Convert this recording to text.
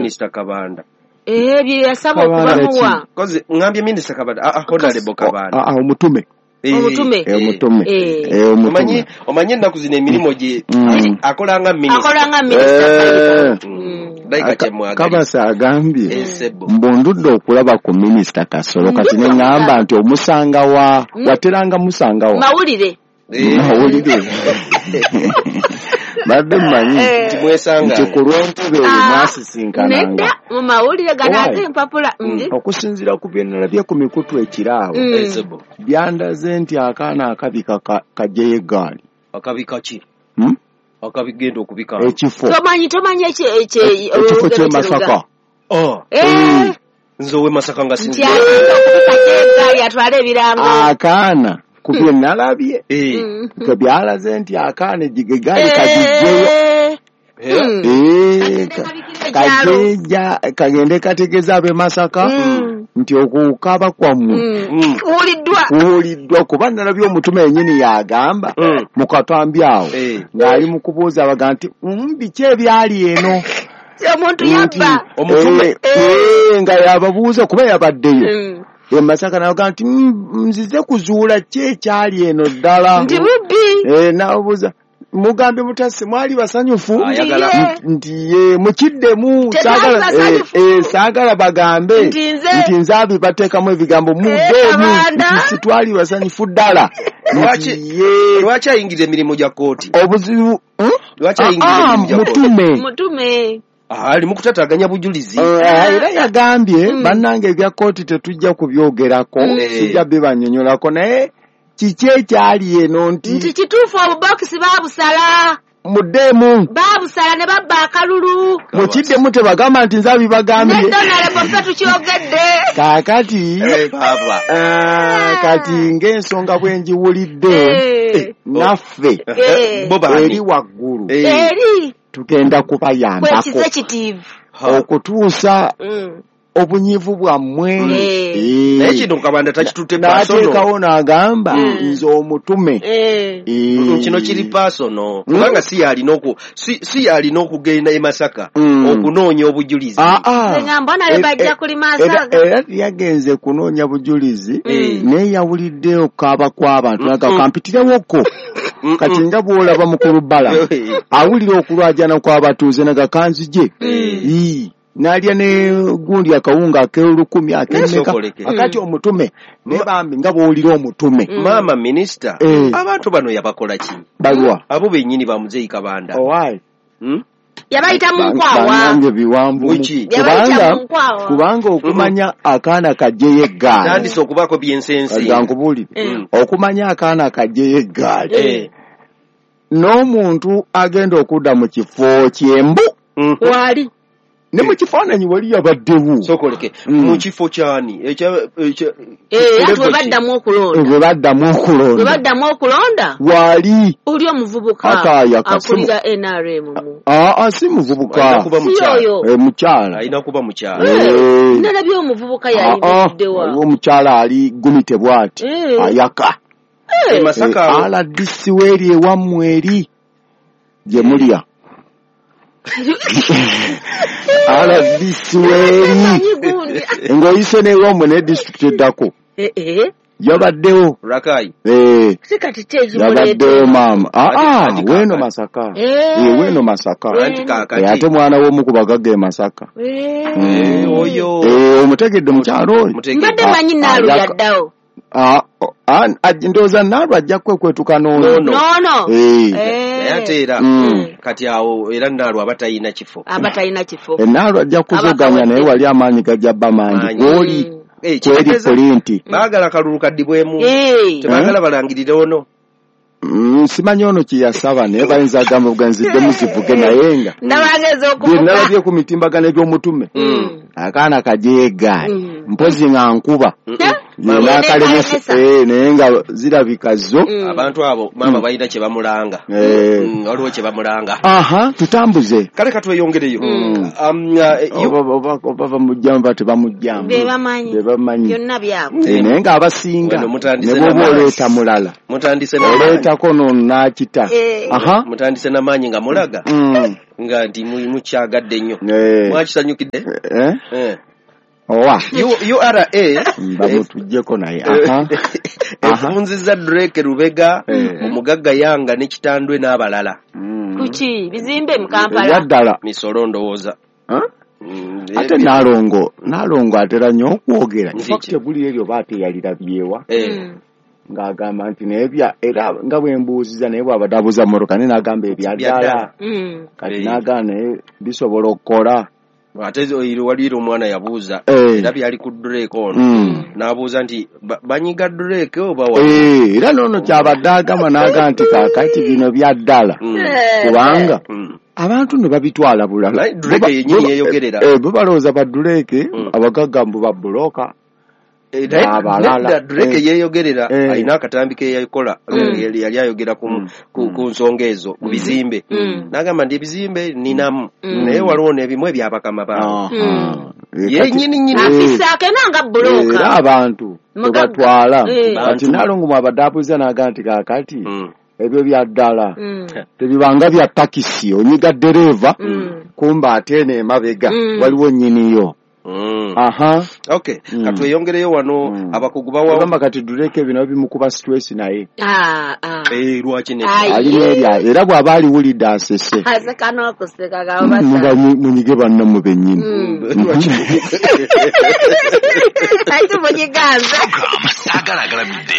Minisita Kabanda. Bye yasaba Kabanda okubamuwa. Kozi ngambye Minisita Kabanda, Honorable Kabanda. Omutume. Omutume. Omutume. Omutume. Omanyi ennaku zino emirimu gye akola nga minisita. Akola nga minisita. Kabasa agambye mbundudde okulaba ku minisita Kasolo kati ne ŋŋamba nti omusanga wa wateranga musanga wa mawulire. Mawulire. Badde mmanyi nti ku lw'entebe eyo mwasisinkananga. Nedda mu mawulire gano ag'empapula. Okusinziira ku bye nalabye ku mikutu ekiraawo byandaze nti akaana akabika kajjeyo eggaali. Akabika ki? Akabigenda okubika. Ekifo. Tomanyi ekifo ky'e Masaka. Nze ow'e Masaka nga sinzi. Nti eggaali atwale ebirango. Akaana. Ku bye nalabye byalaze nti akaana eggaali kagijjeyo kagende kategeeza ab'e Masaka nti okukaaba kwammwe kuwuliddwa kuba nalabye omutume yennyini yagamba mu katambi awo ng'ali mu kubuuza abaga nti biki ebyali eno omuntu yabba omutume nga yababuuza kuba yabaddeyo. Masaka naga nti nzize kuzuula ki ekyali eno ddala nti mubbi nabuuza mugambye mutasi mwali basanyufu nti ye mukiddemu saagala bagambe nti nze abibateekamu ebigambo muddemu nti sitwali basanyufu ddala. Lwaki ayingira emirimu gya kkooti? Obuzibu lwaki ayingira emirimu gya kkooti? Mutume ali mu kutataganya bujulizi. Era yagambye bannange ebya kkooti tetujja kubyogerako sijja bibannyonnyolako naye kiki ekyali eno nti kituufu obubokisi baabusala muddemu baabusala ne babba akalulu mukiddemu tebagamba nti nze abibagambye nedda Honorable tukyogedde. Kaakati kati ng'ensonga bwe ngiwulidde naffe eri waggulu eri tugenda kubayambako okutuusa obunyivu bwammwe. Naye kino Kabanda takitutte personal. N'ateekawo n'agamba nze omutume. Kino kiri personal kubanga si yalina okugenda e Masaka okunoonya obujulizi. Era yagenze kunoonya bujulizi naye yawulidde okukaaba kw'abantu n'agamba kampitirewoko. Kati nga bw'olaba mukulu Bala awulira okulwajana kw'abatuuze naga kanzije. N'alya ne gundi akawunga ak'olukumi ak'emmeka akati omutume ne bambi nga bw'owulira omutume. Maama minisita abantu bano yabakola ki? Balwa abo bennyini ba Muzeeyi Kabanda. Owaayi yabayita mu nkwawa. Bannange biwanvu kubanga okumanya akaana kajjeyo eggaali tandise okubaako byensensi. Nkubuulire okumanya akaana kajjeyo eggaali n'omuntu agenda okudda mu kifo ky'embu wali ne mu kifaananyi wali yabaddewo. Sokoleke mu kifo kyani bwe baddamu okulonda wali oli omuvubuka akulira NRM si muvubuka mukyala alina kuba mukyala nalabye omuvubuka yayimiriddewa waliwo omukyala ali gumite bw'ati ayaka RDC weeri ewammwe eri gye mulya RDC weeri ng'oyise n'ewammwe ne disitulikiti eddako yabaddewo Rakai yabaddewo maama weeno Masaka weeno Masaka ate mwana w'omu ku bagagga e Masaka omutegedde omukyalo oyo mbadde manyi Naalu yaddawo. Ndowooza Naalu ajja kwekwetuka n'ono naye ate era kati awo era Naalu aba talina kifo. Naalu ajja kuzoganya naye wali amaanyi gajja bba mangi kwoli kweri pulinti. Baagala kalulu kaddibwemu tebaagala balangirire ono. Simanyi ono kye yasaba naye bayinza agamba buganziddemu zivuge naye nga nalabye ku mitimbagano egy'omutume akaana kajjeyo eggaali mpozi nga nkuba N'akalemesa naye nga zirabika zo. Abantu abo maama balina kye bamulanga. Waliwo kye bamulanga. Aha, tutambuze. Kale katweyongereyo. Oba bamujjamu ba tebamujjamu. Be bamanyi. Byonna byabwe. Naye ng'abasinga ne bw'oba oleeta mulala. Mutandise n'amaanyi. Oleetako n'akita. Aha. Mutandise n'amaanyi nga mulaga. Nga nti mukyagadde nnyo. Mwakisanyukidde? Owa. URA bamutuggyeko naye. Efunzizza Drake Lubega, omugagga Yanga ne Kitandwe n'abalala. Kuki bizimbe mu Kampala. Ebyaddala. Misolo ndowooza. Ate Nalongo atera nnyo okwogera. Infact buli eryo baateyalirabyewa. Ng'agamba nti naye era nga bwe mbuuziza naye bw'abadde abuuza mmotoka naye n'agamba ebyaddala. Kati n'agamba naye bisobola okukola. Ate waliwo omwana yabuuza era byali ku Drake ono n'abuuza nti banyiga Drake oba wa? Era n'ono kyabadde agamba n'agamba nti kaakati bino bya ddala kubanga abantu ne babitwala bulala. Drake yennyini yeeyogerera. Bo balowooza ba Drake abagagga mbu ba bbulooka. Nedda Drake yeeyogerera alina akatambi ke yakola yali ayogera ku nsonga ezo ku bizimbe n'agamba nti ebizimbe ninamu naye waliwo n'ebimu ebyabakama baabwe yennyini nnyini afisaako era nga bbulooka era abantu tebatwala. Kati Nalongo mwabadde abuuza n'agamba nti kaakati ebyo bya ddala tebibanga bya takisi onyiga ddereeva kumba ate eno emabega waliwo nnyiniyo. Aha. Okay. Katweyongereyo wano abakugu bawa bagamba kati Drake bino bimukuba stress naye. Lwaki nedda? Alina erya era bw'aba aliwulidde asese. Aseka n'okuseka gabasa. Munyige bannammwe bennyini. Ati munyiganze. Agalagalamidde.